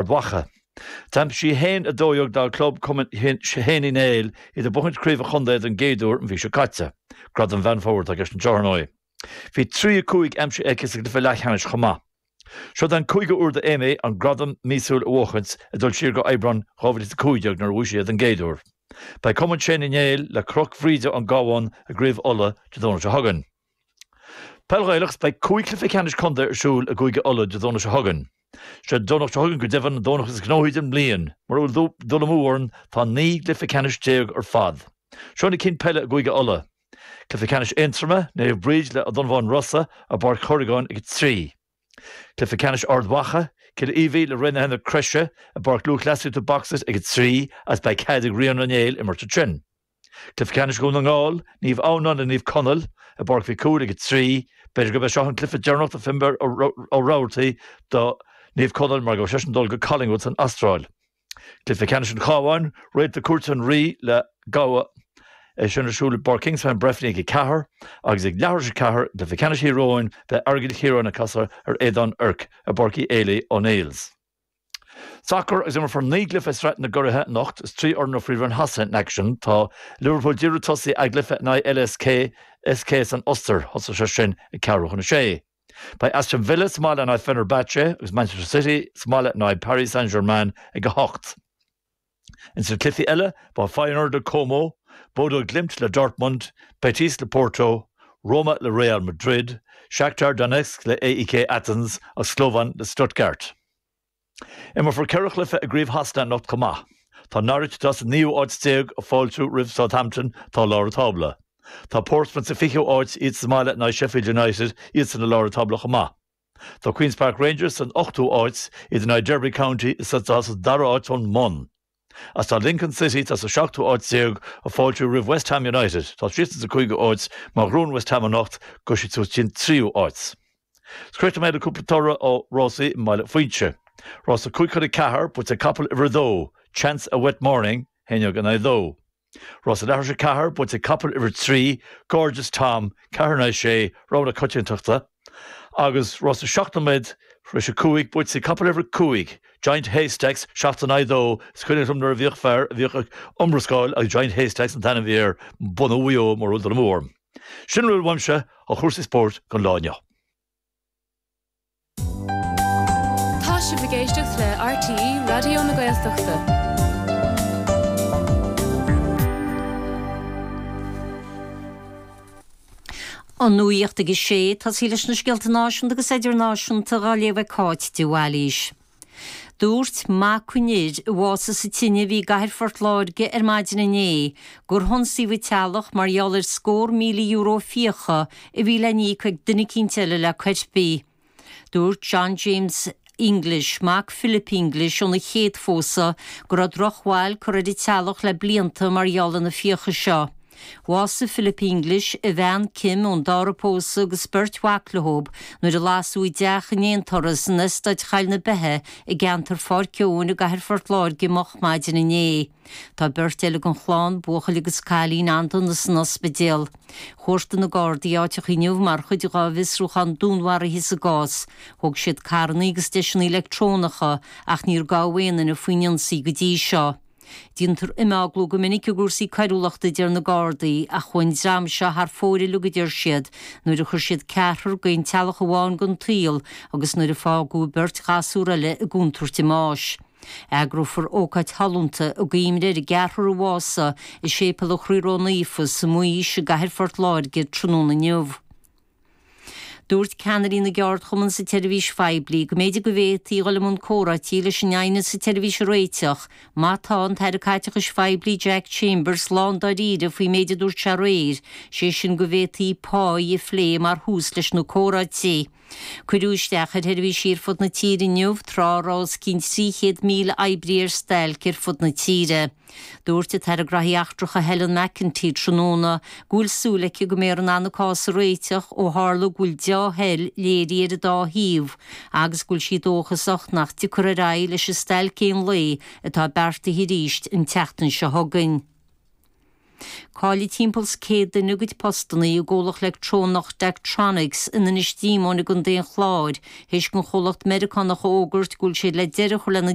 Mhacha. D'aimsigh sí 1-12 dá club, Cumann Shéan Uí Néill, iad ag buachaint craobh an chontae don gcéad uair an mhí seo caite. Gradam Mheán Fómhair atá i gceist anseo, ar ndóigh. Bhí 3-5 aimsithe aici sa gcluiche leathcheannais chomh maith. Seo den cúigiú uair do Aimée an gradam míosúil a bhuachaint, ag dul siar go Aibreán 2015 nuair a bhuaigh sí é don gcéad uair. Beidh Cumann Shéan Uí Néill le Cnoc Bhríde ón gCabhán i gCraobh Uladh Dé Domhnaigh seo chugainn. Peil Ghaelach, Beidh 5 chluiche ceannais contae ar siúl i gCúige Uladh Dé Domhnaigh seo chugainn. Sé an Domhnach seo chugainn go deimhin an Domhnach is gnóthaí den mbliain. Mura bhfuil dul amú orainn tá 19 gcluiche ceannais ar fad. Seo na cinn peile i gCúige Uladh. Cluiche ceannais Aontroma, Naomh Bríd le Ó Donnabháin Rosa i bPáirc Chorragáin ag 3. Cluiche ceannais Ard Mhacha, Cill Aoibhí le Raonaithe na Croise i bPáirc Lúthchleasaíochta Boxit ag 3 agus beidh cead ag Ríona Ó Néill imirt ansin. Cluiche Ceannais Dhún na nGall, Naomh Adhamhnáin le Naomh Conaill i bPáirc Mhic Cumhaill ag 3. B'fhéidir gurb é seo an cluiche deireanach do Finbarr Ó Rabhartaigh do Naomh Conaill mar go bhfuil seisean ag dul go Collingwood san Astráil. Cluiche Ceannais an Chabháin, Réalta Cúirt an Rí le Gabha, é sin ar siúl i bPáirc Kingspan Breffni ag 4 agus ag leathuair tar éis 4 i gCluiche Ceannais Thír Eoghain beidh Aireagal Chiaráin ag casadh ar Aodán Oirc i bPáirc Uí Éilí O'Neills. Sacar agus imreofar 9 gcluiche i Sraith na gCuraithe anocht is 3 fhoireann ó Phríomhroinn Shasana in aicsean. Tá Liverpool díreach ag tosaí a gcluiche in aghaidh LSK SK san Ostair. Thosaigh sé sin ag ceathrú chun a sé. Beidh Aston Villa sa mbaile in aghaidh Fenerbahce agus Manchester City sa mbaile in aghaidh Paris Saint-Germain ag 8. Ins na cluichí eile, beidh Feyenoord le Como, Bodo Glimt le Dortmund, Betis le Porto, Roma le Real Madrid, Shakhtar Donetsk le AEK Athens agus Slovan le Stuttgart. Imreofar 4 chluiche i gCraobh Shasana anocht chomh maith. Tá Norwich, atá sa naoú háit déag, ag fáiltiú roimh Southampton, atá i lár an tábla. Tá Portsmouth sa fichiú háit, iad sa mbaile in aghaidh Sheffield United, iadsan i lár an tábla chomh maith. Tá Queens Park Rangers san ochtú háit, iad in aghaidh Derby County atá sa dara háit ón mbun. Agus tá Lincoln City, atá sa seachtú háit déag, ag fáiltiú roimh West Ham United, atá síos insa cúigiú háit, má ghnóthaíonn West Ham anocht, gabhfaidh siad suas dtí an tríú háit. Críochnóidh mé le cúpla toradh ó rásaí i mBaile Phuinse. Rása 5 chun 4, buaite ag capall uimhir 2, Chance a Wet Morning, 1 in aghaidh 2. Rása leathuair tar éis 4, buaite ag capall uimhir 3, Gorgeous Tom, 4 in aghaidh 6, rogha na coitiantachta, agus rása 7 nóiméad tar éis 5, buaite ag capall uimhir 5, Giant Haystacks, 7 in aghaidh 2. Is cuimhin liom nuair a bhíodh fear a bhíodh ag iomrascáil agus Giant Haystacks an t-ainm a bhí air, bunadh Mhaigh Eo, mura bhfuil dul amú orm. Sin a bhfuil uaimse ó chúrsaí spóirt don lá inniu. Tá sibh ag éisteacht le RTÉ Raidió na Gaeltachta. An nuacht ag a sé, tosaí leis na scéalta náisiúnta agus idirnáisiúnta á léamh ag Cáit de Bhailís. Dúirt mac an fhir a bhásaigh sa tine a bhí i gcathair Phort Láirge ar maidin inné gur hionsaíodh an teaghlach mar gheall ar scór €1,000 fiacha a bhí le n-íoc ag duine eicínt eile le coirpigh. Dúirt John James English, mac Philip English óna chéad phósadh, go raibh drochbhail curtha ar an teaghlach le blianta mar gheall ar na fiacha seo. Bhásaigh Philip English, a bhean Kim ón dara pósadh agus beirt mhac leob nuair a lasadh a dteach in aonturas in Eastáit Choill na Beithe i gceantar Pháirc Eoin i gcathair Phort Láirge moch maidin inné. Tá beirt eile den chlann, buachaill agus cailín, an-dona san ospidéal. Chuartaigh na Gardaí áiteacha inniu mar chuid dhá bhfiosrúchán dúnmharaithe sa gcás. Thóg siad carranna agus deiseanna leictreonacha ach níor gabhadh aon duine faoin ionsaí go dtí seo. Déantar imeaglú go minic i gcúrsaí coiriúlachta a deir na Gardaí, ach chuaigh an dream seo thar fóir uilig a deir siad, nuair a chuir siad ceathrar d'aon teaghlach amháin den tsaol agus nuair a fágadh beirt ghasúr eile i gcontúirt a mbáis. Eagrófar ócáid shollúnta i gcuimhne ar an gceathrar a bhásaigh i Séipéal an Chroí Ró-Naofa sa Mhuis i gcathair Phort Láirge tráthnóna inniu. Dúirt ceannairí na gceardchumann sa tseirbhís phoiblí go mb'fhéidir go bhféadfaí dhul i mbun comhráití leis an aighneas sa tseirbhís a réiteach má tá an tAire Caiteachais Phoiblí Jack Chambers lándáiríre faoin méid a dúirt sé aréir, sé sin go bhféadfaí páí a phlé mar thús leis na comhráití. Cuireadh isteach ar sheirbhísí ar fud na tíre inniu tráth a raibh os cionn 300,000 oibrí ar stailc ar fud na tíre. Dúirt an tAire Graithí Eachtracha Helen McEntee tráthnóna go bhfuil súil aici go mbeifear in ann an cás a réiteach ó tharla go bhfuil deá-thoil léirithe ar an dá thaobh agus go bhfuil sí dóchasach nach dtiocfar ar aghaidh leis an stailc aon lae atá beartaithe arís an tseachtain seo chugainn. Caillfidh timpeall 's 100 duine a gcuid postanna i gcomhlacht leictreonach Daktronics in Inis Díomóin i gContae an Chláir théis don chomhlacht Meiriceánach a fhógairt go bhfuil siad le deireadh a chur lena.